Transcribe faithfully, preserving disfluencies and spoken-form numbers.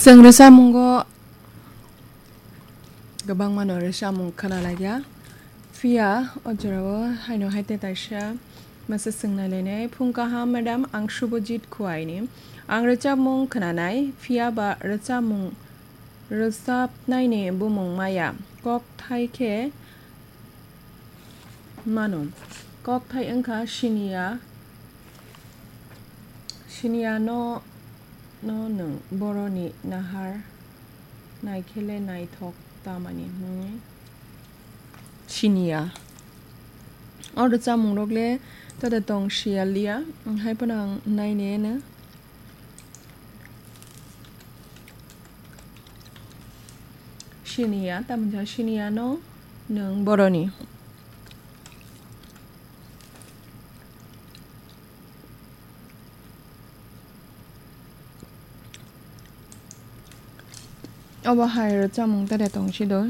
Chwng rwchapmungo kwbangmano rwchapmung khwnalaikha. Phiya o jorao haino hai tei kaisa masa swngnai lainai, "Phung kaham, madam, ang Subhajit Khuaini. Ang rwchapmung khwnanai, phiya ba rwchapmung rwchapnaini bumung maya. Kokthai khe mano. Kokthai wngkha siniya, siniya no, no nwng boroni nahar naikhele naithok tamani hwnwi siniya." O rwchapmungrok le tada tong siya liya, hai phano ang naineno. Siniya, tamo wngkha siniya no nwng boroni. Obo hai rwchapmung tere tong si do.